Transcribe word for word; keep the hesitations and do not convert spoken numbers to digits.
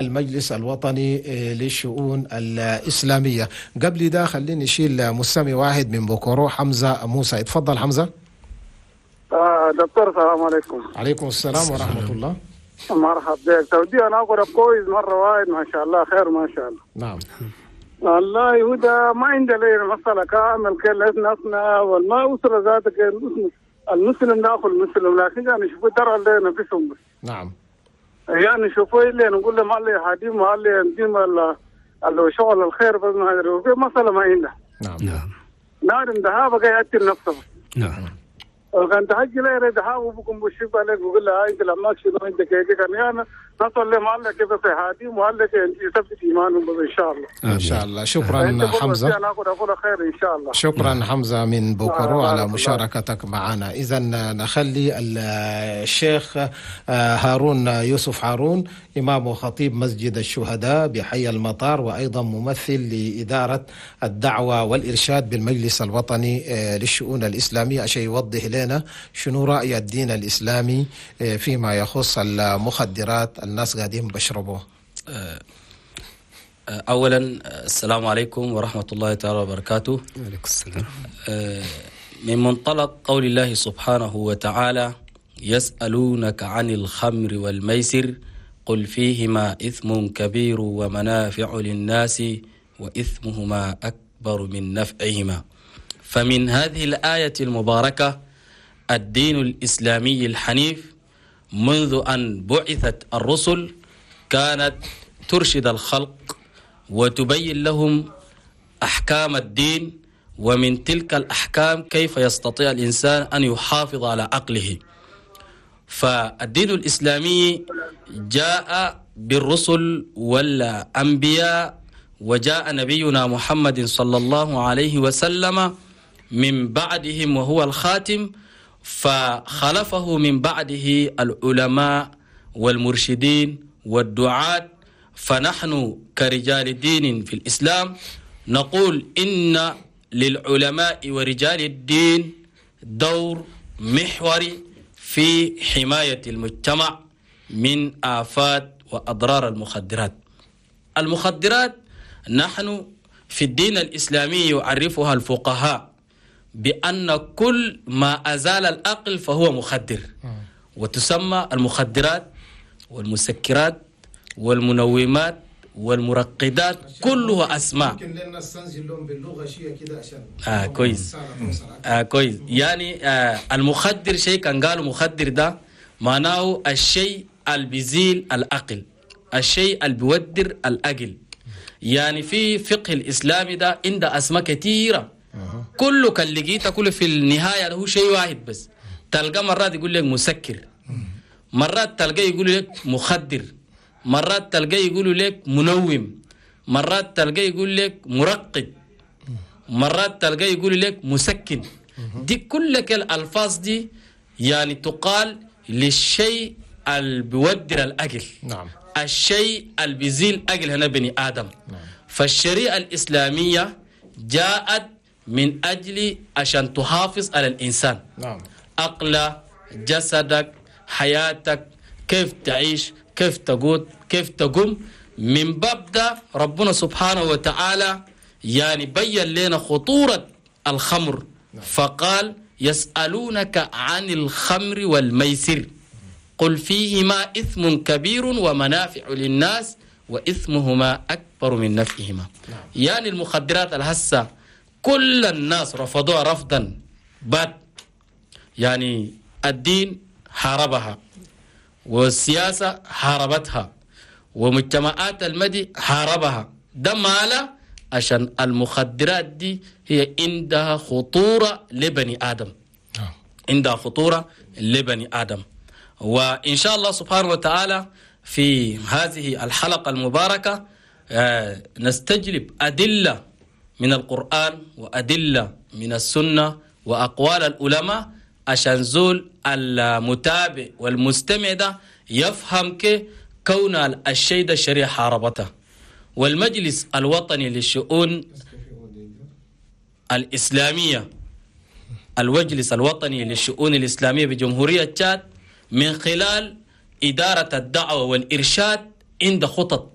المجلس الوطني للشؤون الإسلامية. قبل ده خليني نشيل مستمع واحد من بوكورو، حمزة موسى. اتفضل حمزة. آه دكتور، السلام عليكم. عليكم السلام ورحمة الله. مرحبا بك تودي، انا اقرا كويس مرة واحد، ما شاء الله، خير ما شاء الله. نعم. والله هو ما عندي لي مسألة كامل كل ناسنا والما أسرة ذاتك، المسلم ناخذ المسلم، لكن يعني شوفوا ترى اللي نفسهم بس. نعم. يعني شوفوا اللي نقول لهم الله يهديهم الله يهديهم اللي شغل الخير بس، ما أدري في مسألة ما عنده. نعم. نعم. نار ذهاب قاعد يأتي نفسه. نعم. كان تحجي لي ريد هاو بكم بشوف عليك بقول له انت لما شنو انت كيف كان يعني نصل لهم الله كيف في هادي وقال لك انت يثبت ايمانهم ان شاء الله. ان شاء الله. شكرا حمزة. انا اقول خير ان شاء الله. شكرا حمزة من بوكورو على مشاركتك معنا. اذا نخلي الشيخ هارون يوسف هارون، امام وخطيب مسجد الشهداء بحي المطار، وايضا ممثل لادارة الدعوة والارشاد بالمجلس الوطني للشؤون الاسلامية، عشان يوضح لنا شنو رأي الدين الإسلامي فيما يخص المخدرات الناس قاعدين بشربوه. أولا السلام عليكم ورحمة الله تعالى وبركاته. وعليكم السلام. من منطلق قول الله سبحانه وتعالى: يسألونك عن الخمر والميسر قل فيهما إثم كبير ومنافع للناس وإثمهما أكبر من نفعهما. فمن هذه الآية المباركة الدين الإسلامي الحنيف منذ أن بعثت الرسل كانت ترشد الخلق وتبين لهم أحكام الدين، ومن تلك الأحكام كيف يستطيع الإنسان أن يحافظ على عقله. فالدين الإسلامي جاء بالرسل والأنبياء، وجاء نبينا محمد صلى الله عليه وسلم من بعدهم وهو الخاتم، فخلفه من بعده العلماء والمرشدين والدعاة. فنحن كرجال دين في الإسلام نقول إن للعلماء ورجال الدين دور محوري في حماية المجتمع من آفات وأضرار المخدرات. المخدرات نحن في الدين الإسلامي يعرفها الفقهاء بأن كل ما أزال العقل فهو مخدر، وتسمى المخدرات والمسكرات والمنومات والمرقدات، كلها أسماء. ممكن لنا نستنزل لهم باللغة شيء كده عشان آه كويس آه كويس. يعني آه المخدر شيء كان قالوا مخدر ده معناه الشيء اللي بيزيل العقل، الشيء اللي بيودر العقل. يعني في فقه الإسلامي ده عنده أسماء كثيرة، كله كان لقيته كله في النهاية هو شيء واحد بس. تلقى مرات يقول لك مسكر، مرات تلقى يقول لك مخدر، مرات تلقى يقول لك منوم، مرات تلقى يقول لك مرقد، مرات تلقى يقول لك مسكن. دي كل الألفاظ دي يعني تقال للشيء اللي بيودر الأجل. نعم. الشيء اللي بيزيل أجل هنا بني آدم. نعم. فالشريعة الإسلامية جاءت من أجل عشان تحافظ على الإنسان. نعم. عقله، جسدك، حياتك، كيف تعيش، كيف تقود، كيف تقوم. من باب ده ربنا سبحانه وتعالى يعني بين لنا خطورة الخمر. نعم. فقال يسألونك عن الخمر والميسر قل فيهما إثم كبير ومنافع للناس وإثمهما أكبر من نفعهما. نعم. يعني المخدرات الهسة كل الناس رفضوها رفضا بات، يعني الدين حاربها والسياسة حاربتها ومجتمعات المدي حاربها. ده ماله؟ عشان المخدرات دي هي عندها خطورة لبني آدم. نعم. عندها خطورة لبني آدم. وإن شاء الله سبحانه وتعالى في هذه الحلقة المباركة آه، نستجلب أدلة من القرآن وأدلة من السنة وأقوال العلماء عشان زول المتابع والمستمع ده يفهم كي كون الشيء ده الشريعة حاربته. والمجلس الوطني للشؤون الإسلامية، المجلس الوطني للشؤون الإسلامية بجمهورية تشاد، من خلال إدارة الدعوة والإرشاد عند خطط